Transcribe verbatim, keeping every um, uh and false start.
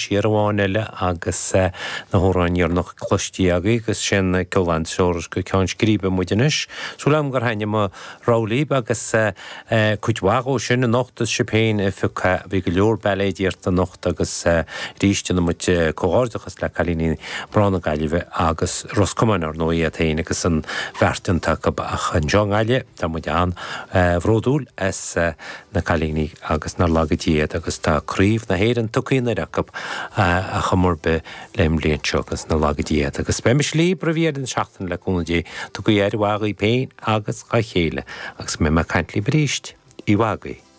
Siar amháin eile agus na hamhráin dheireanach cloiste agaibh agus sin ceol an tseoras go ceann scríbe muid anois. Súil agam gur thaitnigh mo rogha libh agus cuid mhaith dhó sin anocht is sibh féin a phiocadh. Bhí go leor bailéid iarrta anocht agus arís déanann muid comhghairdeachas le cailíní mná na Gaillimhe agus Ros Comáin ar ndóigh iad féin agus an bheart déanta acu ach anseo i nGaillimh tá muid an-bhródúil as na cailíní agus nár laga Dia iad agus tá Craobh na hÉireann tugtha anoir acu ar chuma ar bith le an bhliain seo agus nár laga Dia iad. Agus beidh mise libh roimh dheireadh na seachtaine le cúnamh Dé. Tugaigí aire mhaith dhaoibh féin agus dhá chéile agus go mbeidh mé ag caint libh arís. Oíche mhaith agaibh.